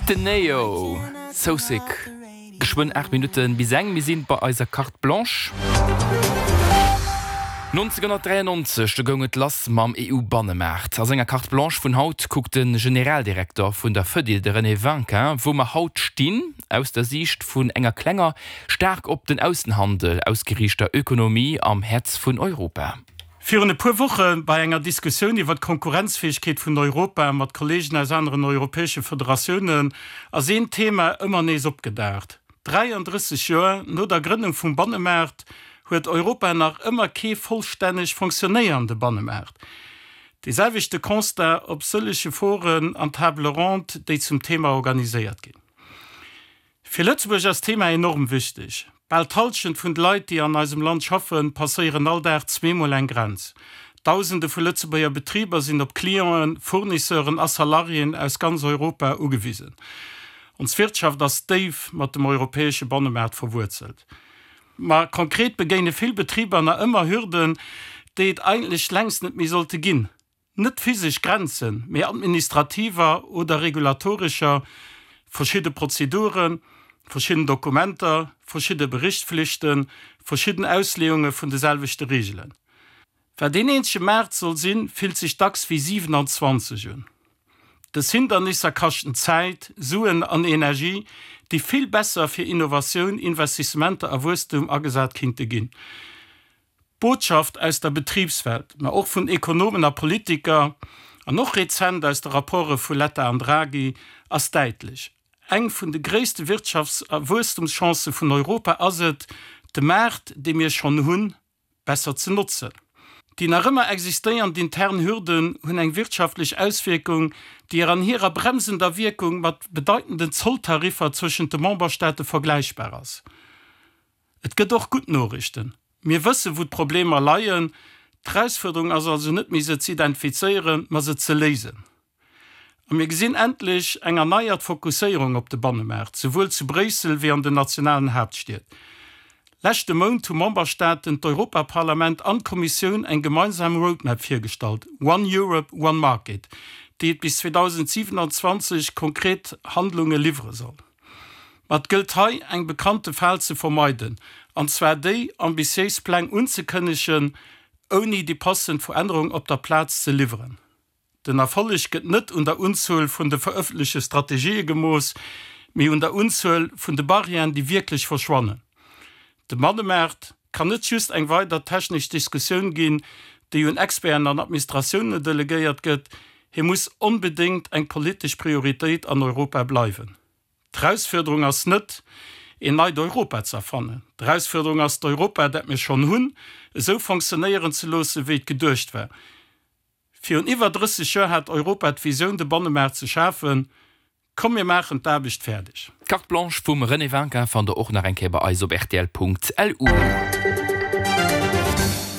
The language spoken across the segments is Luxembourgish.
Den Ne-Yo, So Sick. Geschwënn 8 Minutten bis eng, mir sinn bei eiser Carte Blanche. 1993, do goung et lass mam EU-Bannemaart. A senger Carte Blanche vun haut kuckt de Generaldirekter vun der Fedil, de René Winkin, wou mer haut stinn, aus der Siicht vun enger klenger, staark op den Aussenhandel ausgeriichter Ökonomie am Häerz vun Europa. Virun e puer Woche bei enger Diskussioun iwwer d'Konkurrenzfäegkeet vun Europa mat Kolleegen aus aneren europäesche Federatiounen ass een Thema ëmmer nees opgedaucht, 33 Joer no der Grënnung vum Bannemaart huet Europa nach ëmmer kee vollstänneg fonctionnéierende Bannemaart. Dee selwechte Constat op sëllege Foren an Table ronde, déi zum Thema organiséiert ginn. Fir Lëtzebuerg ass d'Thema enorm wichteg. Bal d'Hallschent vun de Leit, déi an eisem Land schaffen, passéieren all Dag zweemol eng Grenz. Dausende vu Lëtzebuerger Betriber sinn op Clienten, Fournisseuren a Salariéen aus ganz Europa ugewisen. Ons Wirtschaft ass déif mat dem europäesche Bannemaart verwuerzelt. Ma konkret begéine vill Betriber nach ëmmer Hürden, déi et eigentlech längst net méi sollte ginn. Net physesch Grenzen, mee administrativer oder regulatorescher, verschidde Prozeduren, verschidden Dokumenter, verschidde Berichtflichten, verschidden Ausleeunge vun de selwechte Reegelen. Wat een eenzege Maart soll sinn, fillt sech dacks wéi 27 un. Dës Hindernisser kaschten Zäit, Suen an Energie, déi vill besser fir Innovatioun, Investissementer a Wuesstum agesat kinnte ginn. D'Botschaft aus der Betribswelt, ma och vun Ekonomen a Politiker, an och rezent aus de Rapporte vu Letta an Draghi, ass däitlech, Eng vun de gréisste Wirtschafts a Wuesstumschancë vun Europa ass et, de Maart, dee mir schonn hunn, besser ze notzen. Déi nach ëmmer existéiernd intern Hürden hunn eng wirtschaftlech Auswierkung, déi an hirer bremsender Wierkung mat bedeitenden Zolltariffer zwëschent de Memberstaate vergläichbar ass. Et gëtt och gutt Noriichten. Mir wëssen, wou d'Problemer leien. D'Erausfuerderung ass also net méi, se ze identifizéieren, ma se ze léisen. A mir gesinn endlech eng erneiert Fokusséierung op de Bannemaart, souwuel zu Bréissel wéi an den nationalen Haaptstied. Leschte Mount hu Memberstaaten, d'Europaparlament an d'Kommissioun eng gemeinsam Roadmap virgestallt, One Europe, One Market, déi et bis 2027 konkret Handlunge liwwere soll. Ma et gëllt hei eng bekannte Fal ze vermeiden, an zwar déi, ambitiéis Pläng unzekënnegen, ouni déi passend Verännerung op der Plaz ze liwweren. Den Erfolleg gëtt net un der Unzuel vun de verëffentlechte Strategië gemooss, mee un der Unzuel vun de Barrièren, déi wierklech verschwannen. De Bannemaart kann net just eng weider technesch Diskussioun ginn, déi un Experten an Administratioune delegéiert gëtt, hie muss onbedéngt eng politesch Prioritéit an Europa bleiwen. D'Erausfuerderung ass net, een neit Europa ze erfannen. D'Erausfuerderung ass, d'Europa, dat mir schonn hunn, esou fonctionnéieren ze loossen, wéi et geduecht war. Virun iwwer 30 Joer hat Europa d'Visioun, de Bannemaart ze schafen. Komm mir maachen d'Aarbecht fäerdeg. D'Carte Blanche vum René Winkin fannt der och nach eng Kéier bei eis op rtl.lu.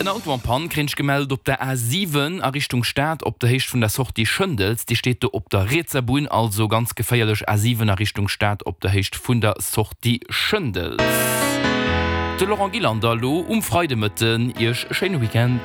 En Auto en Panne kréint ech gemellt op der A7 a Richtung Stad op der Héicht vun der Sortie Schëndels. Déi steet do op der rietser Bunn, also ganz geféierlech A7 a Richtung Stad op der Héicht vun der Sortie Schëndels. De Laurent Gillander elo um Freidemëtten. Iech e schéine Weekend.